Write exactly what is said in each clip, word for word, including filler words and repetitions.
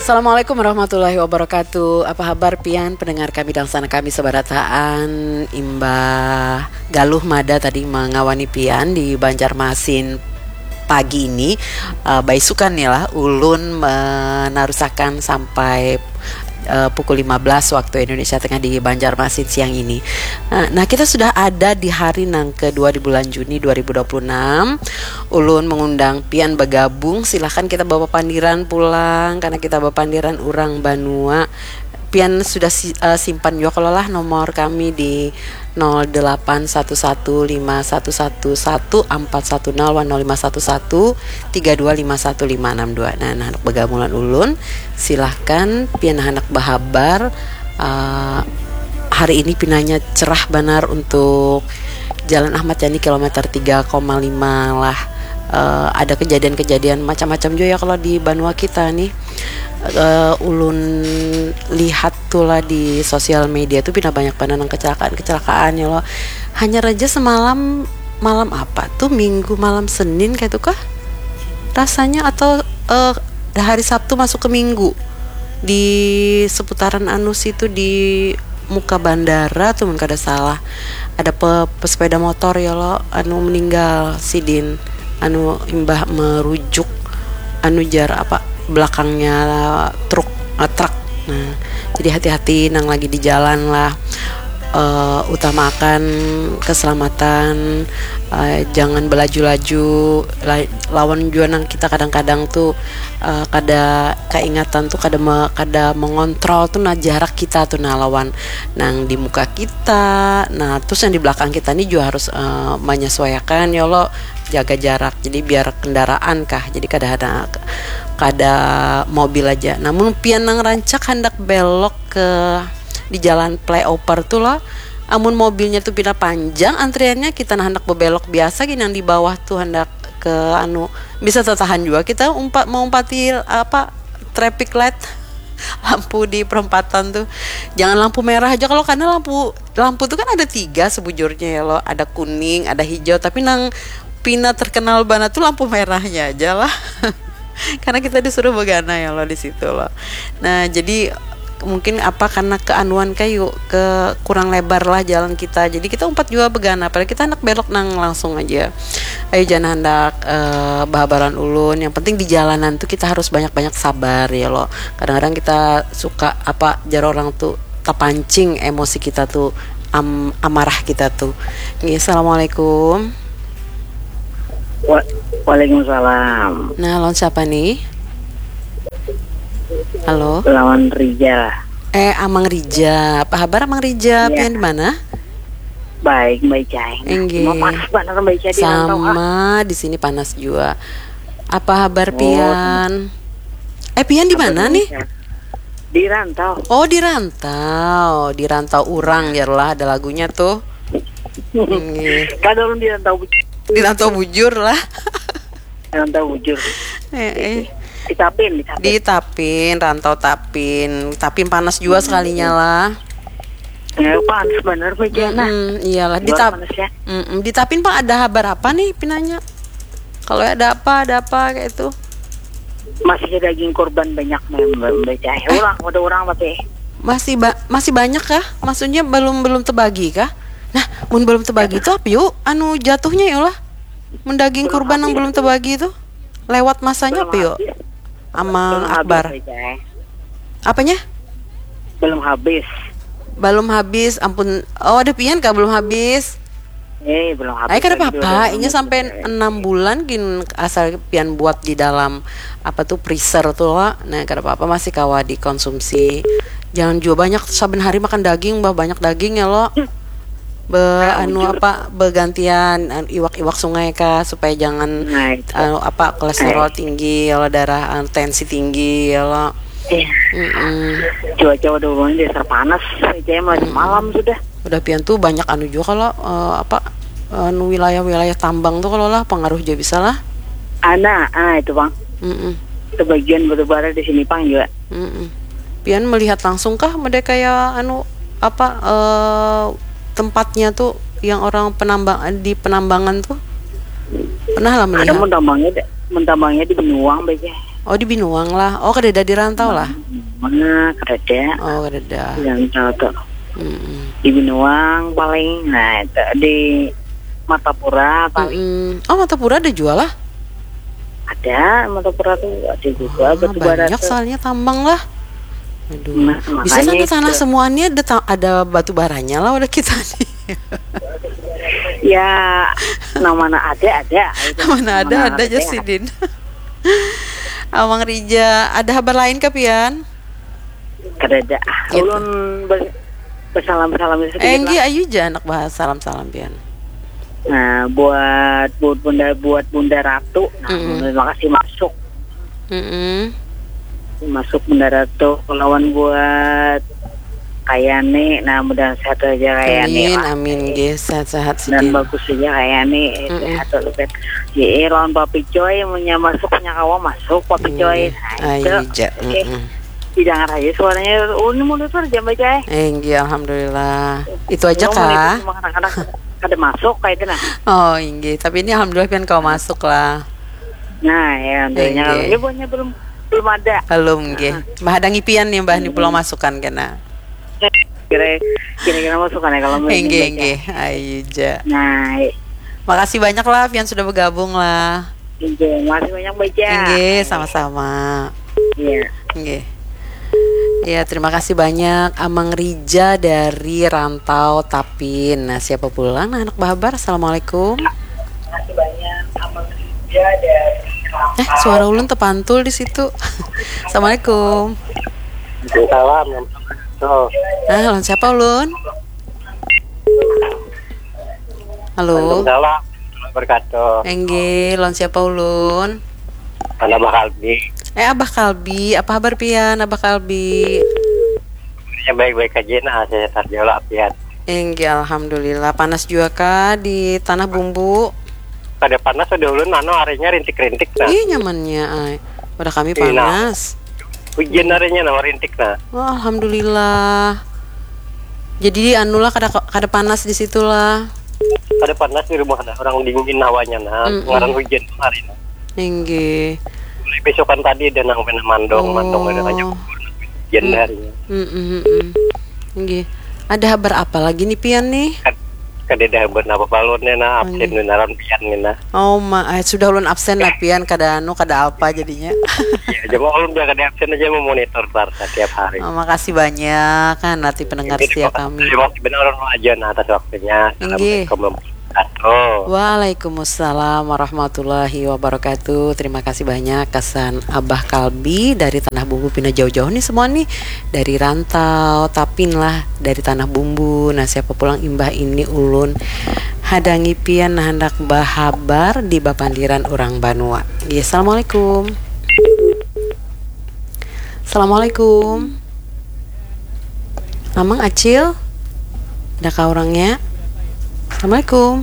Assalamualaikum warahmatullahi wabarakatuh. Apa habar pian pendengar kami dan sana kami sebarataan, imbah galuh mada tadi mengawani pian di Banjarmasin pagi ini, uh, baisukan nih lah ulun menarusakan sampai uh, pukul lima belas waktu Indonesia Tengah di Banjarmasin siang ini. Nah, nah, kita sudah ada di hari nang kedua di bulan Juni dua ribu dua puluh enam. Ulun mengundang pian bergabung, silahkan kita bawa pandiran pulang karena kita bawa pandiran urang banua. Pian sudah si, uh, simpan juga kalau lah nomor kami di nol delapan satu satu lima satu satu satu empat satu nol wan nol lima satu satu tiga dua lima satu lima enam dua. Nah, nah, bergabungan ulun, silahkan pian anak bahabar. Uh, hari ini pinanya cerah banar untuk Jalan Ahmad Yani kilometer tiga koma lima lah. Uh, ada kejadian-kejadian macam-macam juga ya kalau di banua kita nih. Uh, ulun lihat tuh lah di sosial media tuh pina banyak banget nang kecelakaan-kecelakaan ya lo. Hanya aja semalam, malam apa tuh, minggu malam Senin kayak itu kah rasanya, atau uh, hari Sabtu masuk ke Minggu di seputaran anu situ di muka bandara tuh mun kada salah, ada pe, pesepeda motor ya lo anu meninggal sidin, anu imbah merujuk anu jar apa belakangnya truk, eh, truk. Nah, jadi hati-hati nang lagi di jalan lah. Eh, utamakan keselamatan, eh, jangan belaju-laju. La- lawan jua nang kita kadang-kadang tuh, eh, kada keingatan tuh kada me- kada mengontrol tuh nah jarak kita tuh nah lawan nang di muka kita. Nah, terus yang di belakang kita nih juga harus, eh, menyesuaikan ya lo, jaga jarak. Jadi biar kendaraan kah, jadi kada ada, kada mobil aja. Namun pian nang rancak hendak belok ke di jalan flyover tuh lo, amun mobilnya tuh pina panjang antriannya, kita nah hendak bebelok biasa gini yang di bawah tuh hendak ke anu, bisa tertahan juga kita umpat meumpati apa, traffic light, lampu di perempatan tuh. Jangan lampu merah aja kalau, karena lampu lampu tuh kan ada tiga sebujurnya ya lo, ada kuning, ada hijau, tapi nang pina terkenal banget tuh lampu merahnya aja lah. Karena kita disuruh begana ya lo di situ lo. Nah, jadi mungkin apa karena keanuan kayu ke kurang lebar lah jalan kita, jadi kita umpat juga begana, padahal kita hendak belok nang langsung aja. Ayo, jangan hendak, eh, bahabaran ulun, yang penting di jalanan tuh kita harus banyak-banyak sabar ya lo. Kadang-kadang kita suka apa jar orang tuh terpancing emosi kita tuh am, amarah kita tuh. Nggih, assalamualaikum. Wa- Waalaikumsalam. Nah, lawan siapa nih? Halo. Lawan Rijal. Eh, Amang Rija. Apa kabar Amang Rija? Iya. Pian di mana? Baik, Mbak Ica. Nah, Inggih. Mau panas banget Mbak Ica di rantau, ah. Sama, di sini panas juga. Apa kabar Oh, pian? Eh, pian di kabar mana nih? Indonesia. Di rantau. Oh, di rantau. Di rantau urang ya lah, ada lagunya tuh. Inggih. Kada ulun di rantau bujur. Di rantau bujur lah. Rantau bujur. Eh, eh. Di Tapin, di Tapin. Di Tapin, rantau Tapin. Tapin panas juga Hmm. sekalinya lah. Ya, panas bener, Mbak Jana. Mm-mm, iyalah. Di Luar Tap-, panas ya. Mm-mm. Di Tapin, Pak, ada kabar apa nih, pinanya? Kalau ada apa, ada apa kayak itu? Masih ada daging kurban banyak, Mbak, Mbak Jana. Orang, ada orang, tapi Masih ba-, masih banyak kah? Maksudnya belum, belum terbagi kah? Nah, mun belum terbagi itu apa yuk? Anu jatuhnya ya lah. Mun daging Belum kurban yang habis. Belum terbagi itu lewat masanya Belum apa yuk? Habis. Amang Belum habis, Akbar. Mbak Jana. Apanya? Belum habis. Belum habis, ampun. Oh, ada pian kah belum habis? Eh, belum habis. Ay, kada apa-apa. Inya sampai enam bulan gin asal pian buat di dalam apa tuh, freezer tuh, lo. Nah, kada apa-apa, masih kawa dikonsumsi. Jangan juga banyak saben hari makan daging, bah, banyak daging ya lo. Be, anu apa, begantian, an-, iwak-iwak sungai kah, supaya jangan, nah, itu. Anu apa, kolesterol tinggi ya lo, darah, anu, tensi tinggi ya lo. Iya. Mm-mm. Cuaca udah mulai dasar panas, saya mulai malam sudah. Udah pian tuh banyak anu juga kalau, eh, apa, anu, wilayah-wilayah tambang tuh kalau lah pengaruh juga bisa lah. Ana, ah, itu, Bang. Mm-mm. Sebagian batu bara di sini, Bang, juga. Mm-mm. Pian melihat langsung kah, mode kayak anu apa, eh, tempatnya tuh yang orang penambang, di penambangan tuh? Pernah lah melihat? Ada mun tambangnya di, mun tambangnya di Benuang baiknya. Oh, di Binuang lah. Oh, kadada di rantau lah. Nah, kadada. Oh, kadada. Yang tahu tuh. Mm-mm. Di Binuang paling, nah itu di Martapura paling Mm-mm. Oh, Martapura ada jua lah. Ada, Martapura tuh ada juga Ah, batu bara banyak tuh. Soalnya tambang lah. Aduh. Nah, Bisa makanya sampai tanah itu. Semua ini ada ta- ada batu baranya lah udah kita nih. Ya, yang mana ada ada. Itu. Mana ada Mana ada aja sidin. Amang Rija, ada kabar lain kah pian? Kadada. Ah, Gitu. Ulun ber- bersalam-salam sedikit Eh, enggih, lah. Ayu ja anak bahas salam-salam pian. Nah, buat buat bunda buat Bunda Ratu. Nah, Mm-mm. terima kasih masuk. Mm-mm. Masuk Bunda Ratu lawan buat Kayani. Nah, mudah sehat aja Kayani. Amin, Lah. Amin, nggih, sehat-sehat Dan sidin. Bagus aja Kayani. Mm-mm. Sehat dulu kan. Iya, lawan Papi Coy, punya masuk punya kawa masuk Papi Coy. Inggih. Nah, Ayu itu. ja. Oke. Mm-mm. Didengar aja suaranya. Oh, ini mulai tuh jam aja. Eh, enggak, alhamdulillah. Itu aja Ngomong kah? Sama anak-anak ada masuk kayak itu nah. Oh, inggih. Tapi ini alhamdulillah pian kau masuk lah. Nah, ya, alhamdulillah. Inggih. Ini buahnya belum belum ada. Belum, nggih. Mbah ada ngipian nih, Mbah, nih pulang masukan kena. Kira kira-kira masukan ya kalau mau Inggih, baca. Inggih. Ayu ja. Nah, Makasih banyak lah pian sudah bergabung lah. Inggih, makasih banyak baca. Inggih, sama-sama. Iya. Inggih. Ya, terima kasih banyak Amang Rija dari Rantau Tapin. Nah, siapa pulang? Nah, anak bahabar. Assalamualaikum. Makasih banyak sama Rija dari Eh, suara ulun terpantul di situ. Assalamualaikum. Salam. Oh, Nah, lawan siapa ulun? Halo. Salam. Berkatu. Enggih, lawan siapa ulun? Anak Abah Kalbi. Eh, Abah Kalbi, apa kabar pian, Abah Kalbi? Ya baik-baik aja nah, sehat aja lah pian. Enggih, alhamdulillah. Panas juga kah di Tanah Bumbu? Kada panas ada ulun anu harinya rintik-rintik nah. Ih, nyamannya, ay. Pada kami Ih, nah. Panas. Hujan harinya nah rintik nah. Oh, alhamdulillah. Jadi anulah kada kada panas di situlah. Kada panas di rumah nah, orang dingin hawanya nah. Mm-mm. Ngaran hujan hari nah. Inggih. Mulai besokan tadi ada nang pernah mandong, Oh. mandong ada hanya hujan Hmm. harinya. Mm-mm, mm-mm. Inggih. Ada kabar apa lagi nih pian nih? Kad- Kada ada habar apa balonnya nah, absen Inggih. Benaran pian ni nah. Oh ma, eh, sudah ulun absen lah pian kada anu kada apa jadinya. Ya, cuma ulun biar kada absen aja memonitor Clark tiap hari. Oh, makasih banyak kan nanti pendengar Jadi, setia terima kami. Terima kasih benar ulun aja nah atas waktunya. Inggih. Assalamualaikum warahmatullahi wabarakatuh. Waalaikumsalam warahmatullahi wabarakatuh. Terima kasih banyak kesan Abah Kalbi dari Tanah Bumbu pina jauh-jauh nih semua nih. Dari Rantau, Tapin lah dari Tanah Bumbu. Nah, siapa pulang imbah ini ulun hadangi pian nah handak bahabar di bapandiran urang banua. Ya, assalamualaikum. Assalamualaikum. Amang Acil. Adakah orangnya? Assalamualaikum.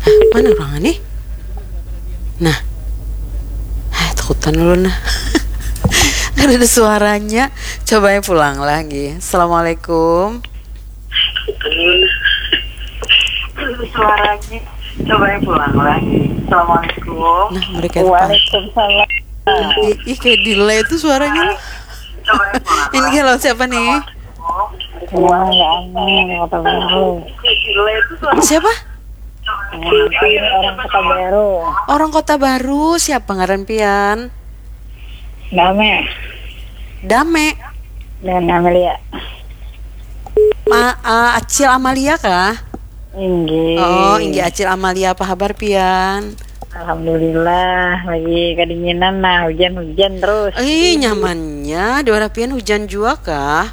Hah, mana orangnya nih? Nah. Hah, takutan lu nah. Kada ada suaranya. Coba pulang lagi. Assalamualaikum. Suaranya. Coba pulang lagi. Assalamualaikum. Nah, mereka itu. Waalaikumsalam. Ih, ih, kayak delay itu suaranya nih. Ini kalau siapa nih? Wah, ya ampun, kota baru. Siapa? Ini orang kota baru. Orang Kota Baru. Siapa ngaran pian? Dame. Dame. Dan Amelia. Ma, eh, Acil Amalia kah? Inggih. Oh, inggih Acil Amalia, apa kabar pian? Alhamdulillah, lagi kedinginan nah, hujan-hujan terus. Ih, nyamannya di warah pian hujan juga kah?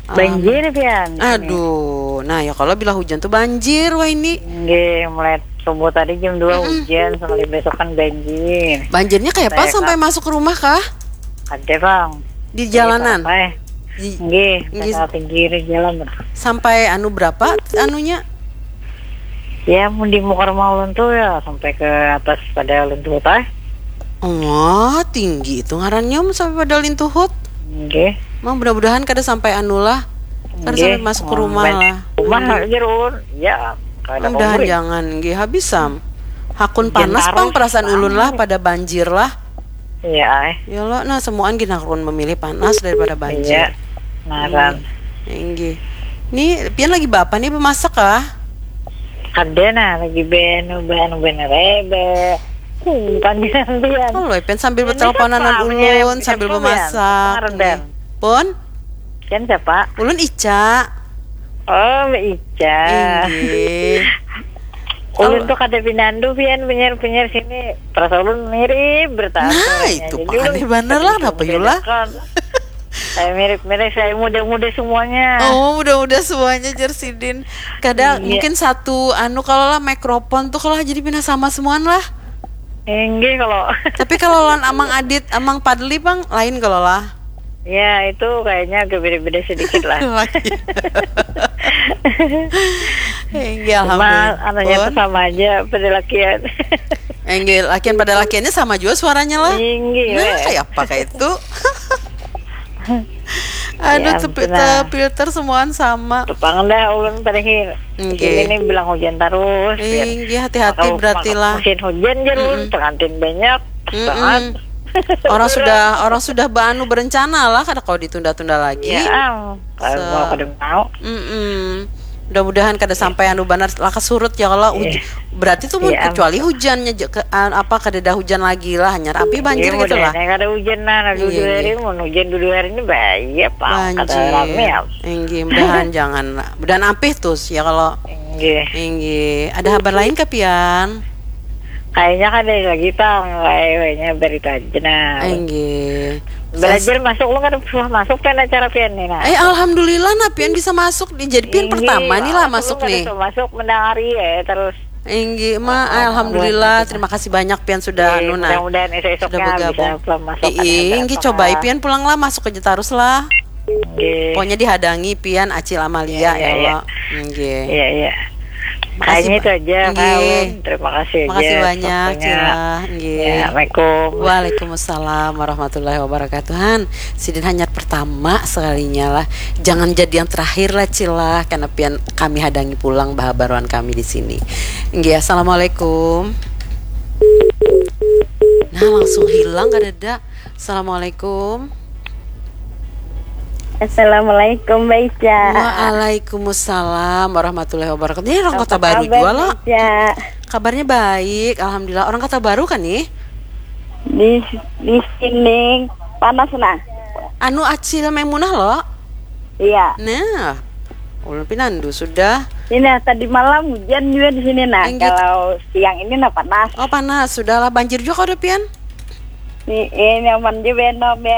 Banjir pian. Aduh, nah ya kalau bila hujan tuh banjir wah ini. Inggih, mulai subuh tadi jam dua hujan, sampai besokan banjir. Banjirnya kayak apa Kayak sampai masuk rumah kah? Ada bang. Di jalanan. Sampai. Di- Inggih, Inggih. Sampai pinggir jalan. Sampai anu berapa anunya? Ya, mun di muka rumah ulun tuh ya sampai ke atas pada ulun tuh tah. Wah, tinggi itu ngarannya mun sampai pada lintuhut. Inggih. Mang mudah-mudahan kada sampai anu lah. Kada Inggih. Sampai masuk ke rumah Sampai lah. Rumah aja ulun. Ya, kada Mudahan komplit. Jangan nggih habis sam. Hakun Hujan panas pang tarus, perasaan Bang. Ulun lah pada banjir lah. Iya, eh. Ya lo, nah semuaan gina ulun memilih panas daripada banjir. Iya. Ngaran. Inggih. Ni pian lagi bapa nih bemasak kah? Ada nah lagi ben ben ben rebe. Hmm, panggilan pian. Halo, pian sambil Ini berteleponan siapa? ulun Menyerep- sambil siapa, memasak. Pian? Order. Inggih. Pun, Kan siapa? Ulun Ica. Oh, Mbak Ica. Inggih. Ulun tuh kada pinandu pian penyiar-penyiar sini. Perasaan ulun mirip bertahan Nah, suaranya. itu Jadi mah ulun aneh banar lah, bisa kenapa, Yula? membedakan. Saya mirip-mirip, saya muda-muda semuanya. Oh, mudah-mudah semuanya, jer sidin. Kada Iya. Mungkin satu anu, kalau lah mikrofon tuh kalau jadi pindah sama semuaan lah. Inggih kalau. Tapi kalau lawan Amang Adit, Amang Padli, Bang, lain kalau lah. Ya, itu kayaknya agak beda-beda sedikit lah. Lagi. Inggih, Cuma alhamdulillah. anunya Pun. Tuh sama aja pada lakian. Inggih, lakian pada lakiannya sama juga suaranya lah. Inggih, Nah, weh. Kayak apa kayak itu? Aduh, Ya tepi- ampun, nah. Filter semuaan sama. Tepang dah ulun pada hi-, Inggih. Ini nih bilang hujan terus. Biar Inggih, hati-hati makau- berarti makau lah. Musim hujan, jer ulun, pengantin banyak Mm-mm. banget. Orang sudah orang sudah beanu berencana lah, kada kau ditunda-tunda lagi. Ya, am, kalau So- mau kada mau. Mm-mm. Mudah-mudahan kada sampai anu banar lah kesurut ya kalau huj- Iya. berarti tuh Iya, am. Kecuali hujannya je- ke, an- apa kada ada hujan lagi lah, hanya api banjir Iya, gitu lah. Mudah-mudahan kada hujan nah, nah, dua Iya, hari iya. Mun hujan dua hari ini bahaya, pang kada Banjir. rame ya. Inggih, mudahan jangan lah. Mudahan ampih tuh ya kalau Inggih. Inggih. Ada kabar lain kah pian? Kayaknya kada lagi, pang, kayaknya berita aja nah. Inggih. Belajar masuk, lu kada suah masuk kan acara pian nih nah. Eh, alhamdulillah nah pian bisa masuk nih. Jadi pian Inggih, pertama nih lah aku masuk kada nih. suah masuk mendengar iya terus. Inggih, ma, Oh, alhamdulillah. buat Terima kasih banyak pian sudah Inggih, anu nah. Mudah-mudahan esok-esoknya Sudah bergabung. Bisa pulang masuk Ih, inggih, coba pian pulang lah, masuk aja terus lah. Inggih. Pokoknya dihadangi pian Acil Amalia Iya, iya, ya iya. Allah. Inggih. Iya, iya. Makasih, Kayaknya itu Pak. Aja, Inggih. Kak Ulun. Terima kasih aja. Makasih banyak, Waktunya. Cila. Inggih. Ya, Assalamualaikum. Waalaikumsalam warahmatullahi wabarakatuh. Han, sidin hanyar pertama sekalinya lah. Jangan jadi yang terakhir lah, Cila. Karena pian kami hadangi pulang bahabaruan kami di sini. Inggih, assalamualaikum. Nah, langsung hilang kadada. Assalamualaikum. Assalamualaikum, Mbak Ica. Waalaikumsalam warahmatullahi wabarakatuh. Ini orang Apa Kota Baru kabar, juga lah. Mbak Ica? Kabarnya baik, alhamdulillah. Orang Kota Baru kan nih? Di di sini panas nah. Anu Acil Maimunah loh. Iya. Nah, ulun pinandu sudah. Ini nah, tadi malam hujan juga di sini nah. Inggih. Kalau siang ini nah panas. Oh, panas, sudahlah. Banjir juga kau ada pian? Ini, ini nyaman juga, no, bet.